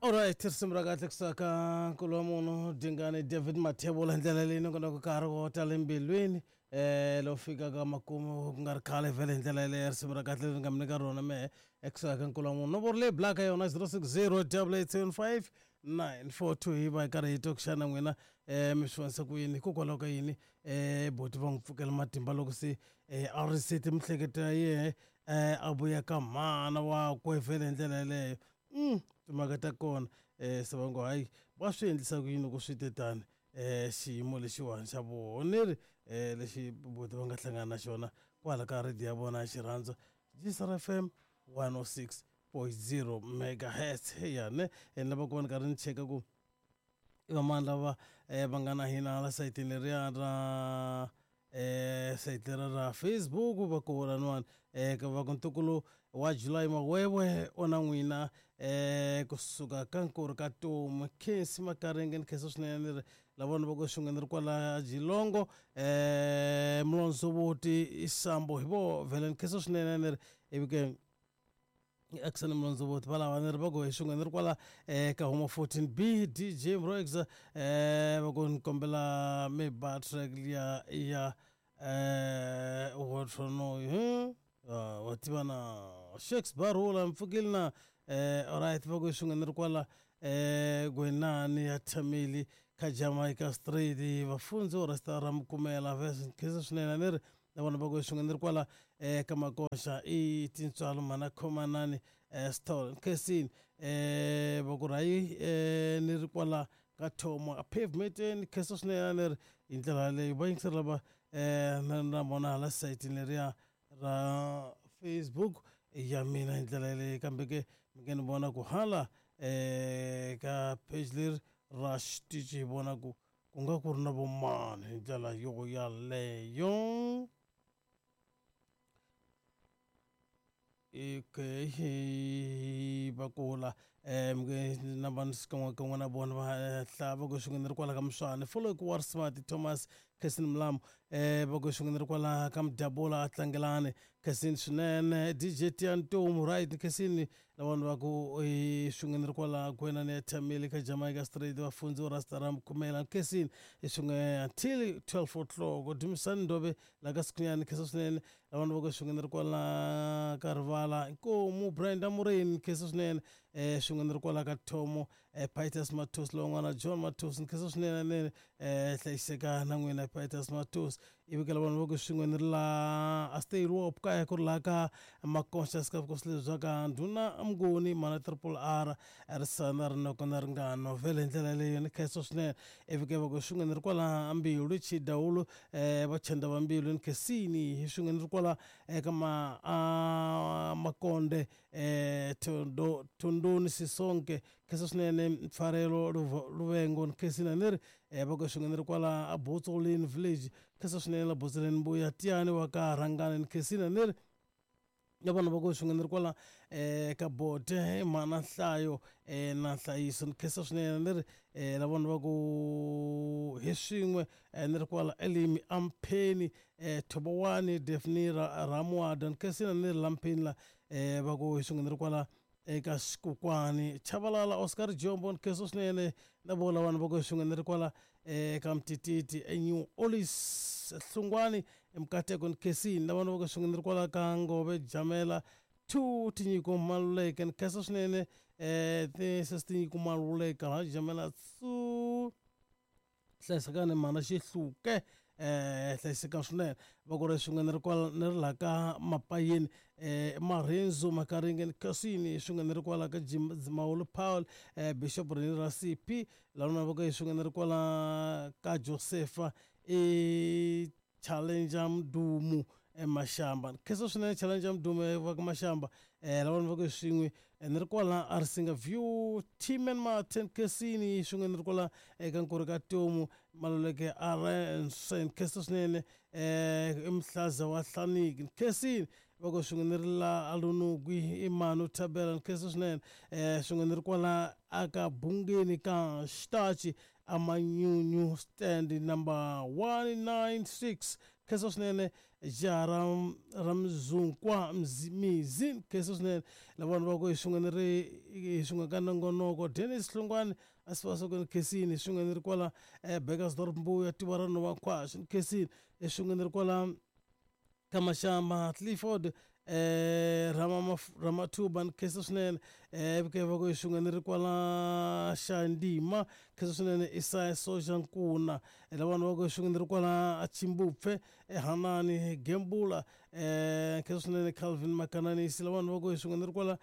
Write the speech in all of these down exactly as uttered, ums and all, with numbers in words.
Alright, risimu ra kahle kusuka nkulu wa munhu Dingane David Mathebula ndlela leyi nongonoko ka ri wo tala embilwini eh lowu fikaka makumu ku nga ri khale vhele hi ndlela yeleyo risimu ra kahle leri nga mi nyika rona mehe ekusuka ka nkulu wa munhu nomboro leyi blaka yona zero six zero double eight seven five nine four two hi va hi karhi hi twa ku xana n'wina um mi swi vonisa ku yini hikokwalaho ka yini um boti va n'wi pfukela matimba loko se um a risete miehleketo ya yehe um a vuya ka mhana wakwe vhele hi ndlela yeleyo mm timhaka ta kona um se va ngo hayi va swi endlisa ku yini loko swi te tani um xiyimo lexiwani xa vuhoneri um lexi boti va nga hlangana na xona kwala ka radio ya vona ya xirhandza G S R F M one oh six point zero megahertz ya ne. Ni lava ku va ni karhi ni cheka ku i vamani lava um va nga na hina hala sayitini leriya ra eh sayiti lera ra Facebook. Va ku laniwani um va ku ntukulu wa July Mawewe o na n'wina um kusuka ka nkuri ka tomu Khensi Makaringe ni khensa swinene ni ri lavona va ku xin'we ni ri kwala Jilongo um Mulondzovoti Isambo hi vo vhele ni khensa swinene ni ri ivi ke Action Mulondzovoti va lava ni ri va ku hi xin'we ni ri kwala um ka huma fourteen B D J Mroex um va ku ni kombela mi ba track liya ya um Watronoyi wa tiva na Shakes Barula mpfukile na eh alright. Va ku xin'we ni ri kwala eh Gwenani ya Thameli ka Jamaica Street vafundzi vo resta ra Mukumela vese khensa swinene ni ri na vona va ku xin'we ni ri kwala eh ka Makoxa i tintswalo mana khomanani eh stall khensini eh va ku rayi eh ni ri kwala ka thomo a pavement ni khensa swinene ni ri hi ndlela yaleyo va yingiseri lava eh na na vona hala sayitini leriya ra Facebook ya mina hi ndlela yaleyo. Kambe ke mi nge ni vona ku hala eh ka page leri ra xitichi hi vona ku ku nga ku ri na vomani hi ndlela yo yaleyo. Okay, va kula um na vanhu xikan'wekan'we na vona va hla va ku xin'we ni ri kwala ka Muswana follow ku war smart Thomas Kesin Mulamu um va ku xin'we ni ri kwala ka Mudabula a tlangelani Kesin swinene D J Tiantomu right Kesin lavana va ku xin'we ni ri kwala Gwenani ya Thameli ka Jamaica Street vafundzi vo Rasta Khumela Kesin xin'we until twelve o'clock Dumisani Ndobe la ka Sikhunyani khensa swinene lavana va ku xin'we ni ri kwala ka Rivala Nkomu Brenda Mureni khensa swinene um xin'we ni ri kwala ka Thomo um Pitus Matos lowun'wana John Matos ni khensa swinene nene um hlayiseka na n'wina Pitus Matos ivi ka lavana va ku swin'we ni ri la a stay wop kaya ku ri laha ka Maconsious ka vukosi lebyi bya ka ndhuna Mnguni mana Triple R risana rinoko na ringano vhele hi ndlela yaleyo ni khensa swinene ivi ke va ku swin'we ni ri kwala Mbilu Chidawulu um va chenda va Mbilu ni khensini hi swin'we ni ri kwala eka ma a Makonde um Thondo Thondoni Sisonke khensa swinene Mfarelo Luvengo ni khensini ni ri um va ku swin'we ni ri kwala a Botsolini village khensa swinene la Botsolini Mbuya Tiyani wa ka Rhangani ni khensini ni ri na vona va ku swin'we ni ri kwala um ka bote mana nhlayo um na nhlayiso ni khensa swinene ni ri um la vona va ku hi swin'we ni ri kwala Elimi Ampheni um Thobowani Daphne Ramwada ni khensini ni ri Lampheni la um va ku hi swin'we ni ri kwala eka Xikokwani Chavalala Oscar Jombo ni khensa swinene na vo lavana va ku hi swin'we ni ri kwala eka Mtititi eNew Olis Hlungwani Mkateko ni khensini lavana va ku swin'we ni ri kwala ka Ngove Jamela two Tinyiko Maluleke ni khensa swinene um ti Tinyiko Maluleke la Jamela two hlayisekani mana Xihluke um hlayiseka swinene va ku ri swin'we ni ri kwala ni ri laha ka Mapayeni um Marhendzo Makaringe ni khensini swin'we ni ri kwala ka Dzimawulu Paul um Bishop Reni ra C P lavana va ku swin'we ni ri kwala ka Josefa i Challenger Mdumu eMashamba ni khensa swinene Challenger Mdumu va ka Mashamba um lavana va ku swin'we ni ri kwala Arisinga View Timan Martin Khensini swin'we ni ri kwala eka Nkuri ka Tomu Maluleke Arensen khensa swinene um i Muhlaza wa Hlaniki khensini va ku swin'we ni ri la Alunugwi i Manu Thabela ni khensa swinene um swin'we ni ri kwala aka Bungeni ka Xitachi Amanyunyu stand number one nine six khensa swinene. jaha ra ra Mzunkwa Mizi khensa swinene lavana va ku hi swin'we ni ri hi swin'we ka nongonoko Dennis Hlongwane a swi va swa ku ni khensini hi swin'we ni ri kwala Burgersdorp Mbuya tiva ra Nhova Nkhwashu ni khensini hi swin'we ni ri kwala ka Mashamba Clifford eh Rama Ramathuba ni khensa swinene eh ke va ku hi swin'we ni ri kwala Xandima khensa swinene Isaya Soja Nkuna lavana va ku hi swin'we ni ri kwala Chimbupfe Hanani Gembula eh khensa swinene Calvin Makananisi lavana va ku hi swin'we ni ri kwala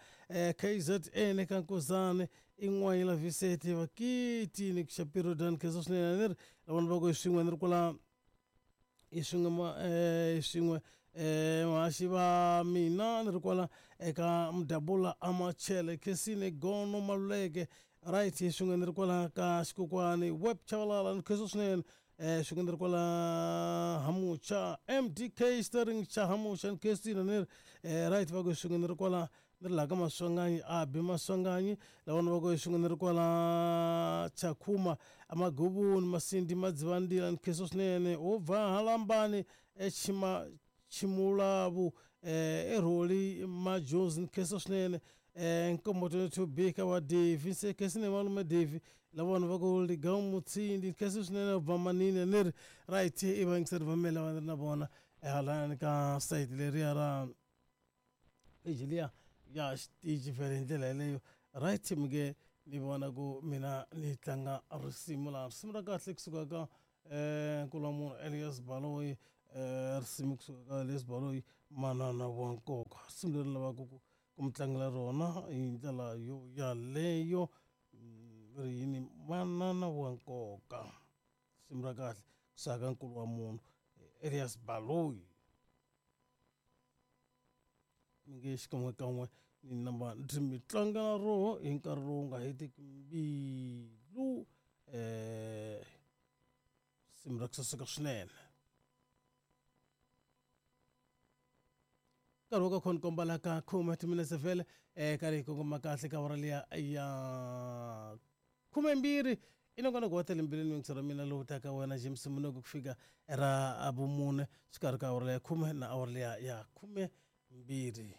K Z N ka Nkuzane in'wana la Vicente vakiti ni Shapiro Dan khensa swinene ni ri lavana va ku hi swin'we ni ri kwala hi swin'we eh swin'we eh vahaxi va mina ni ri kwala eka Mdabula Amachele Khensini Gono Maluleke right hi swin'we ni ri kwala ka Xikokwani Web Chavalala ni khensa swinene eh swin'we ni ri kwala Hamucha M D K Sterling cha Hamucha ni khensini ni ri eh right va ku swin'we ni ri kwala ni ri laha ka Maswanganyi Abi Maswanganyi lavana va ku swin'we ni ri kwala Chakhuma Amagubuni Masindi Madzivandila ni khensa swinene wo bva Halambani Echima Chimulavu eh Eroli Majozi ni khensa swinene eh Nkombo twenty-two B ka va Davy se khensini malume Davy lavana va ku Ligawu Mutsindi ni khensa swinene bva Manini ni ri right i va yingiseri va mina lava ni ri na vona ehalani ka sayiti leriya ra page liya ya xitichi vhele hi ndlela yeleyo right mi ke ni vona ku mina ni tlanga risimu laha risimu ra kahle kusuka ka eh nkulu wa munhu Elias Baloyi eh risimu kusuka ka Elias Baloyi manana wa nkoka risimu leri lavaka ku ku mi tlangela rona hi ndlela yo yaleyo ri yini manana wa nkoka risimu ra kahle kusuka ka nkulu wa munhu Elias Baloyi mi nge xikan'wekan'we ni namba ndzi mi tlangela roho hi nkarhi lowu nga hetiki mbilu eh risimu ra ku saseka swinene nkarhi wa ka khona komba la ka khume timinetse vhele eh karhi hi kongoma kahle ka awara liya ya khumembirhi i nongonoko wa tele mbilwini yingiselo ra mina lowu taka wena James Munoko ku fika ra vumune xikarhi ka awara liya khume na awara liya ya khume mbirhi.